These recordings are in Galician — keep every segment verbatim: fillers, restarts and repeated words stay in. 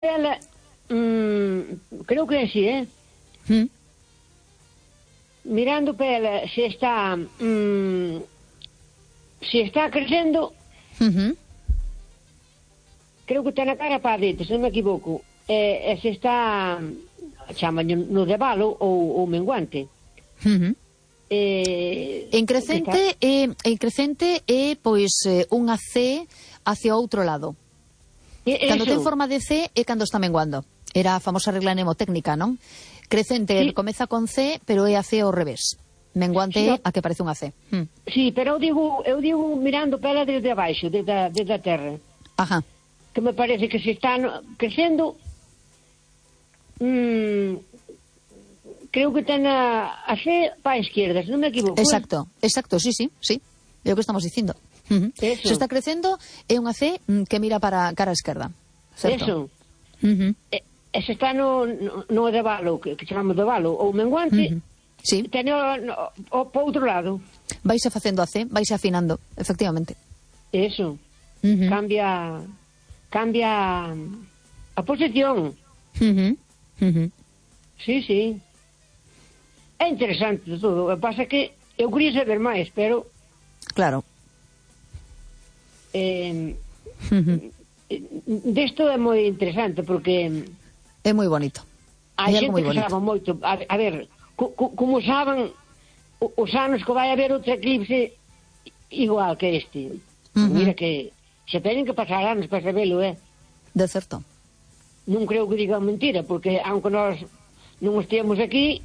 ela, mm, creo que sí, ¿eh? ¿Mm? Mirando para ela, se está mm, se está crecendo, Uh-huh. creo que ten a cara para dentro, se non me equivoco, e, e se está chama no de valo ou, ou menguante. Uh-huh. Eh, En crecente é, en crecente é pois eh, unha C hacia outro lado. e, Cando eso, ten forma de C é cando está menguando. Era a famosa regla mnemotécnica, non? Crecente Sí. comeza con C, pero é a C ao revés. Menguante Sí, é no. a que parece unha C. Hmm. sí, pero eu digo, eu digo mirando para ela desde abaixo, desde a, desde a terra, Ajá. que me parece que se está no, crecendo, mm, creo que ten a, a C para a esquerda, se non me equivoco. Exacto, exacto, sí, sí, sí. É o que estamos dicindo. Uh-huh. Eso. Se está crecendo é unha C mm, que mira para cara a esquerda. Certo? Eso. Uh-huh. E, e se está no, no, no de valo, que, que chamamos de valo, ou menguante, Uh-huh. Sí, ten o, no, o, para outro lado. vaise facendo a C, vaise afinando, efectivamente. Eso. Uh-huh. Cambia cambia a posición. Uh-huh. Uh-huh. Sí, sí. É interesante todo. O que pasa é que eu quería saber máis, pero Claro. eh, Uh-huh. desto é moi interesante porque É moi bonito. a É xente algo moi que bonito. sabe moito. A, a ver, co, co, como saben o- os anos que vai haber outro eclipse igual que este. Uh-huh. Mira que se teñen que pasar anos para sabelo, eh? De certo. Non creo que digan mentira, porque aunque nós non estemos aquí,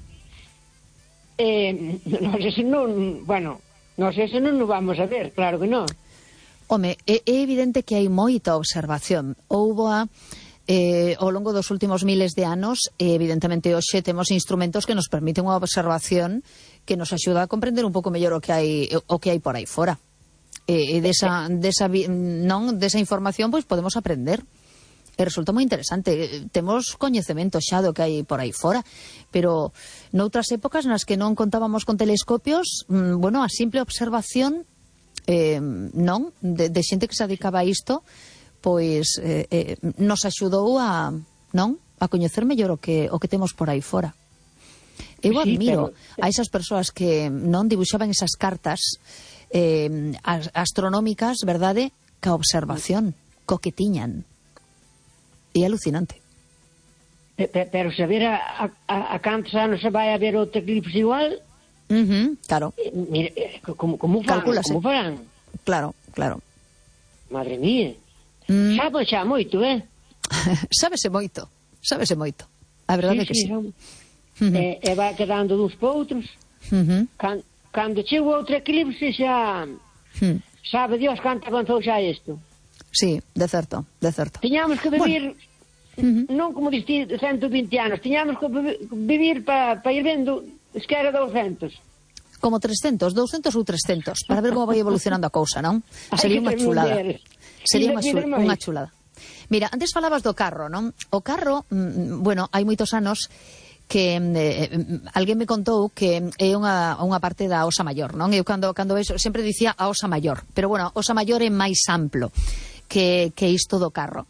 eh, nós ese non, bueno, nós ese non nos vamos a ver, claro que non. Home, é, é evidente que hai moita observación. Houbo a eh, ao longo dos últimos miles de anos, e evidentemente hoxe temos instrumentos que nos permiten unha observación que nos axuda a comprender un pouco mellor o que hai o que hai por aí fora. E, e desa, desa, vi- non, desa información pois podemos aprender. E resulta moi interesante. Temos coñecemento xa do que hai por aí fora, pero noutras épocas nas que non contábamos con telescopios, mm, bueno, a simple observación eh, non, de, de xente que se dedicaba a isto, pois eh, eh, nos axudou a, non, a coñecer mellor o que o que temos por aí fora. Eu Sí, admiro pero- a esas persoas que non dibuixaban esas cartas eh, as- astronómicas, verdade, ca observación, co que tiñan. É alucinante. Pe- pe- Pero saber a, a, a cantos anos se vai haber outro eclipse igual, Uh-huh, claro, eh, mira, eh, como, como farán, Calcúlase. como farán? claro, claro. Madre mía. Mm. Sabe xa moito, eh? Sábese moito, sábese moito. A verdade é que sí. son- Uh-huh. E, e vai quedando duns para outros. Uh-huh. Can, cando chega outro eclipse xa Hmm. sabe Dios canto avanzou xa isto. Sí, de certo, de certo. Tiñamos que vivir, Ujú. non como diste ciento vinte anos, tiñamos que vi- vivir para pa ir vendo es que era douscentos. Como trescentos, douscentos ou trescentos, para ver como vai evolucionando a cousa, non? Hai Sería que unha ter chulada. muller. Sería Ainda unha, chul tiene máis. unha chulada. Mira, antes falabas do carro, non? O carro, mm, bueno, hai moitos anos que eh, alguén me contou que é unha, unha parte da Osa Maior, non? Eu cando, cando vexo, sempre dicía a Osa Maior, pero bueno, a Osa Maior é máis amplo que, que isto do carro.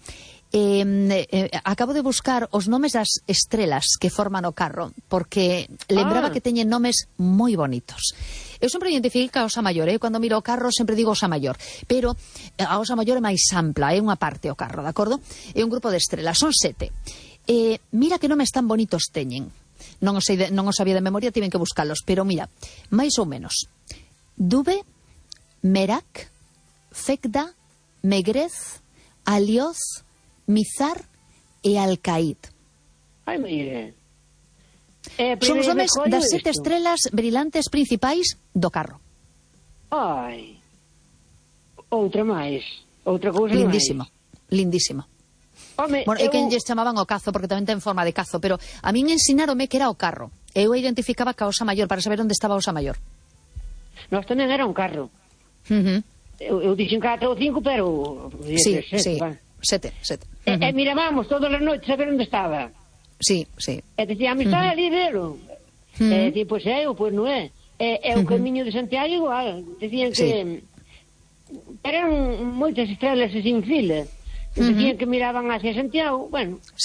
Eh, eh, acabo de buscar os nomes das estrelas que forman o carro, porque lembraba Ah. que teñen nomes moi bonitos. Eu sempre identifiquei que a Osa Maior, eh? Cando miro o carro sempre digo Osa Maior, pero a Osa Maior é máis ampla, é unha parte o carro, de acordo? É un grupo de estrelas, son sete. Eh, mira que nomes tan bonitos teñen. Non os, sei de, non os sabía de memoria, tiven que buscalos, pero mira, máis ou menos. Dube, Merak, Fekda, Megrez, Alioz, Mizar e Alcaid. Ai, mire. Eh, Son os nomes primeiro das escollo sete isto. estrelas brillantes principais do carro. Ai. Outra máis. Outra cousa Lindísimo, lindísimo. máis. Home, Bueno, é eu... que lles chamaban o cazo, porque tamén ten forma de cazo, pero a min ensinaronme que era o carro. Eu identificaba ca Osa Maior para saber onde estaba a Osa Maior. Nós tamén era un carro. Uh -huh. Eu, eu dixen catro ou cinco, pero... Sí, sete, sí, va. sete, sete. E, Uh e -huh. mirábamos todas as noites a ver onde estaba. Sí, sí. E dicíamos, está ali, velo. Uh-huh. E dicían, pois é, ou pois non é. E, e o Uh-huh. camiño de Santiago igual. Dicían que... Sí. Eran moitas estrelas sin fila. que uh -huh. decían que miraban hacia Santiago, bueno...